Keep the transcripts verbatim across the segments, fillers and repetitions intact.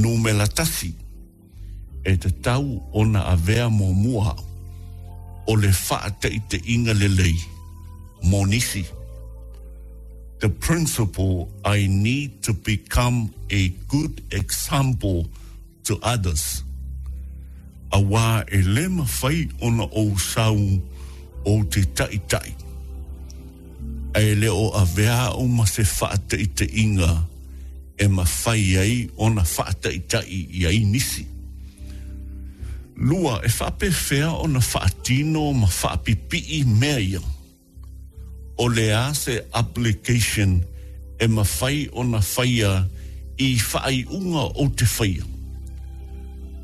Numera tasi, e tatau ona avea muamua o le faataitaiga lelei mo nisi. The principle, I need to become a good example to others. Auā e lē mafai ona ou sau ou te taʻitaʻi ae le o avea au ma se faataitaiga e mafai ai ona faataʻitaʻi i ai nisi. Lua, e faapefea ona faatino ma faapipii mea ia? O le a se application e mafai ona faia i faaiuga ou te faia?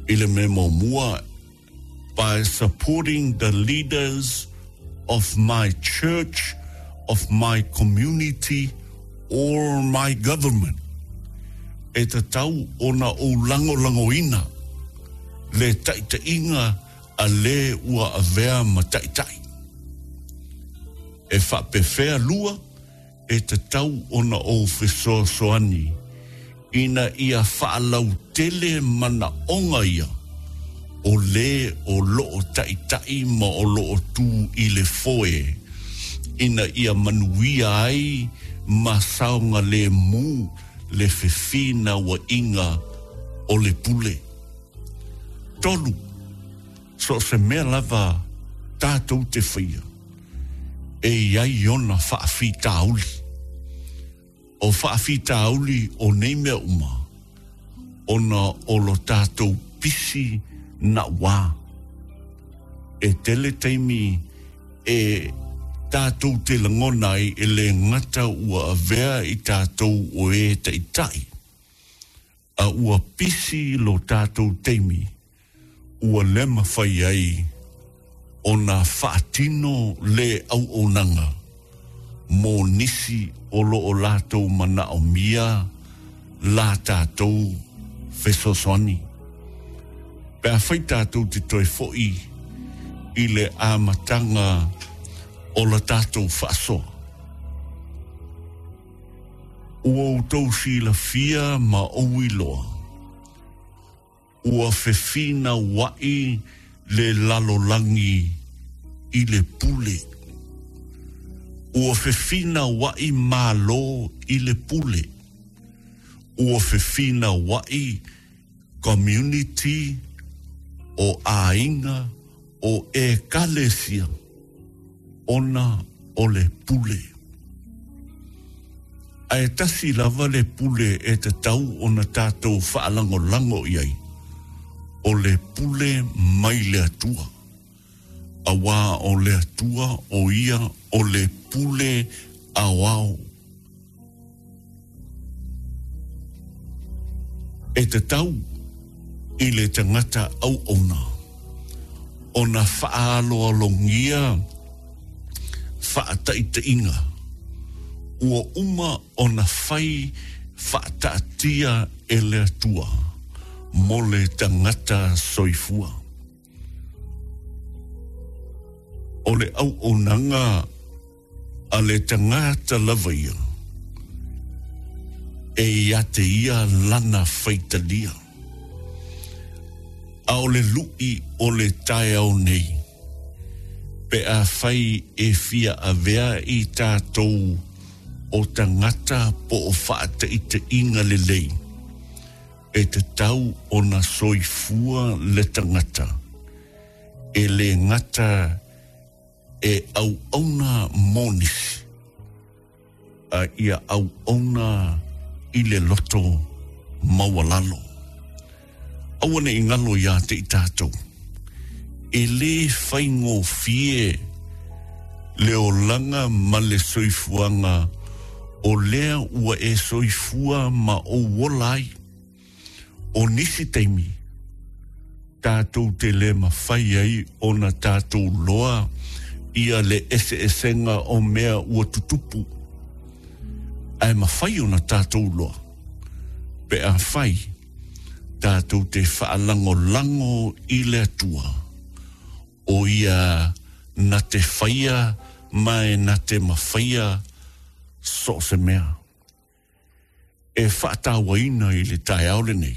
I le mea muamua, by supporting the leaders of my church, of my community or my government. E tatau ona ou lagolagoina le taʻitaʻiga a lē ua avea ma taʻitaʻi. E faapefea lua, e tatau ona ou fesoasoani ina ia faalautele manaʻoga ia o lē o loo taʻitaʻi ma o loo tū i le foe ina ia manuia ai ma saogalēmū le fefinauaiga o le pule. Tolu, so o se mea lava tatou te faia, e i ai ona faafitauli. O faafitauli o nei mea uma, ona o lo tatou pisi naʻauā. E tele taimi e tatou te lagona ai e lē gata ua avea i tatou o e taʻitaʻi, a ua pisi lo tatou taimi ua lē mafai ai ona faatino le auaunaga mo nisi o loo latou manaʻomia la tatou fesoasoani. Pe afai tatou te toe foʻi i le amataga o la tatou faasoa, ua outou silafia ma ou iloa ua fefinauaʻi le lalolagi i le pule. Ua fefinauaʻi Mālō i le pule. Ua fefinauaʻi community o aiga o ekalesia ona o le pule. Ae tasi lava le pule e tatau ona tatou faalagolago i ai, o le pule mai le Atua. Auā o le Atua o ia o le pule aoao. E tatau i le tagata auauna ona faaaloalogia faataitaiga ua uma ona fai faataatia e le Atua mo le tagata soifua. O le auaunaga a le tagata lava ia e ia te ia lana faitalia. A o le luʻi o le taeao nei, pe afai e fia avea i tatou o tagata po o faataitaiga lelei, e tatau ona soifua le tagata e lē gata e auauna mo nisi, a ia auauna i le loto maualalo. Aua ne i galo iā te i tatou, e lē faigofie le olaga ma le soifuaga o lea ua e soifua ma ou ola ai. O nisi taimi tatou te lē mafai ai ona tatou loa ia le eseesega o mea ua tutupu, ae mafai ona tatou loa pe afai tatou te faalagolago i le Atua o ia na te faia ma e na te mafaia so o se mea. E faatauaina i le taeao lenei.